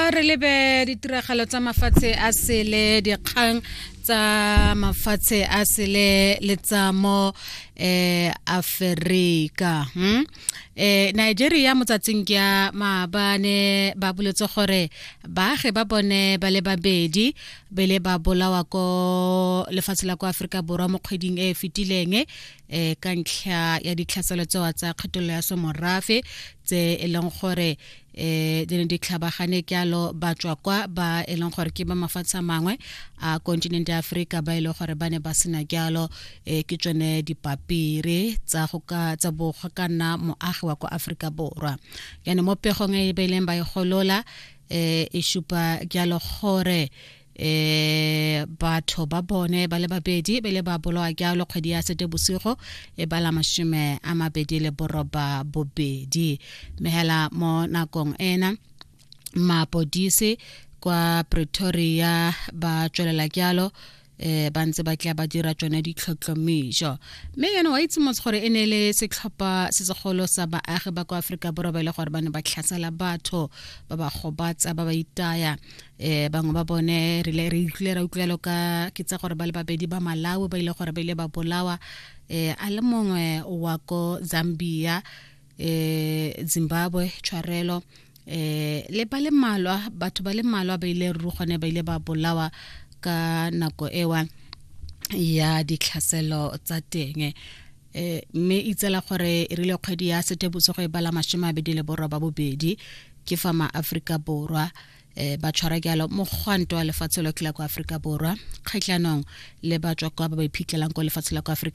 Re lebe ditiragalo tsa mafatshe a sele, dikgang tsa mafatshe a sele le tsa mo Aferika. Nigeria motsatsing ke ya maabane ba boletse gore baagi ba bone ba le babedi bele ba bolawa ko lefatshe la kwa Aforika Borwa mo kgweding e e fetileng ka ntlha ya ditlhaselo tsewa tsa kgethololo ya semorafe tse e leng gore di ne di tlhabagane kyalo batswa kwa ba e leng gore ke ba mafatshe a mangwe a kontinente ya Aforika ba e leng gore ba ne ba sena kyalo ke tsone dipapiri tsa go ka tsa bo go ka nna moagi wa kwa Aforika Borwa. Jaanong mo pegong e ba ileng ba e golola e supa jalo gore batho ba bone ba le babedi ba ile ba bolawa jalo kgwedi ya Seetebosigo e bala 28. Mme hela mo nakong ena mapodisi kwa Pretoria ba tswelela jalo ba ntse ba tla ba dira tsone ditlhotlhomišo. Mme yone wa itse motse gore e ne le setlhopha se segolo sa baagi ba kwa Aforika Borwa ba e le gore ba ne ba tlhasela batho, ba ba gobatsa, ba ba itaya. Bangwe ba bone re ile re utlwile ra utlwelo ka ke tsa gore ba le babedi ba Malawi ba ile gore ba ile ba bolawa, a le mongwe wa ko Zambia, Zimbabwe tshwarelo, le ba le mmalwa, batho ba le mmalwa ba ile ruri gone ba ile ba bolawa ka nako ewa ya ditlhaselo tsa teng. Mme itsela gore e rile kgwedi ya Seetebosigo e bala 28 ke fa ma-Aforika Borwa ba tshwara jalo mogwanto wa lefatshe lotlhe la kwa Aforika Borwa kgatlhanong le batswa kwa ba ba iphitlhelang ko lefatshe la kwa Aforika.